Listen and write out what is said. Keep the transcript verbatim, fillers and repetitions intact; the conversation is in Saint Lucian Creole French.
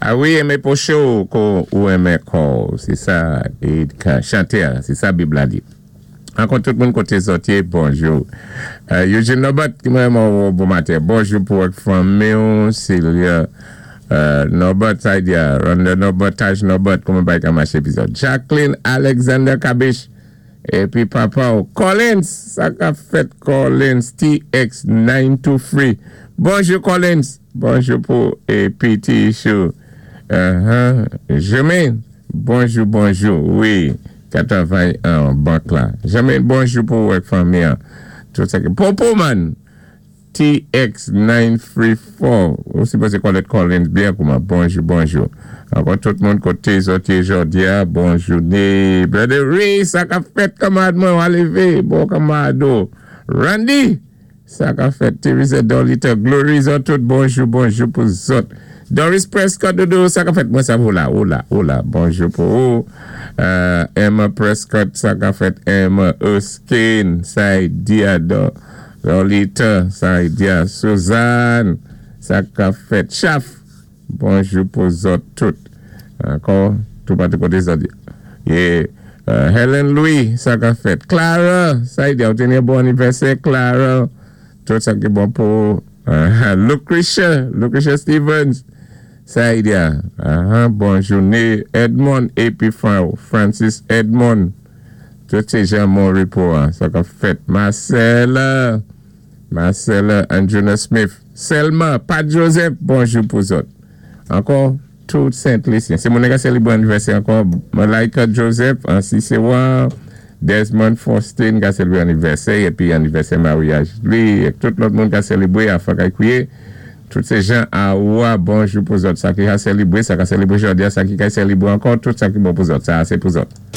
A wi, enmé pwochen kou ou enmen kò w, sé sa, é chanté, sé sa Bib la di. Ankò tout moun koté zòt yé, bonjou. Euh, Eugene Norbert, ki mwen bon maten. Bonjou pou ak fanmi, Sylvia euh, Norbert, sa di, Ronda Norbert, Taj Norbert, kouman bagay ka maché epizòd. Jacqueline Alexander Kabish, épi papa Collins, sa ka fèt Collins, T X nine two three. Bonjou Collins, bonjou pou épi T. Chou. Uh-huh. Jermaine, bonjou, bonjou, wi, ka travay an bank la. Jermaine, bonjou pou ak fanmi. Tout sa ki. Popo man, T X nine three four. Ou sipozé Colette Collins byen kouman. Bonjou, bonjou. Ankò tout moun koté zòt yé jòdi a, bonjou. Né, Brother Ray, sa ka fèt kanmad mwen, levé, bon kanmad. Randy, sa ka fèt Teresa Dolita, Glory, zòt tout, bonjou, bonjou pou zòt. Doris Prescott, Dodo, sa ka fèt mwen sa vou la, ou la, ou la, bonjou pou ou. Euh, Emma Prescott, sa ka fèt Emma Erskine, sa di a do, Lolita, sa di a Suzanne, sa ka fèt Chaf, bonjou pou zòt tout. Ankò, tout patou koté zòt. É, euh, Helen Louis, sa ka fèt. Clara, sa di a, ou teni bon anivèsè, Clara. Tout sa ki bon pou uh, Lucretia, Lucretia Stevens. Sa di a, uh, bon jouné. Edmond épi Francis Edmond. Tout sé jan mon repos, sa ka fèt. Marcella, Marcella Anjuna Smith. Selma, Pat Joseph, bonjou pou zòt. Ankò, tout Saint-Lucien. Sé moun ka sélébwé anivèsè ankò. Malaika Joseph, ansi sé wa. Desmond Faustin ka sélébwé anivèsè épi anivèsè maryaj li. É tout lòt moun ka sélébwé a Fakay Kouye. Tout sé jan a wa, bonjou pou zòt. Sa ki ka sélébwé, sa ka sélébwé jòdi a, sa ki ka sélébwé ankò, tout sa ki bon pou zòt. Sa sé pou zòt.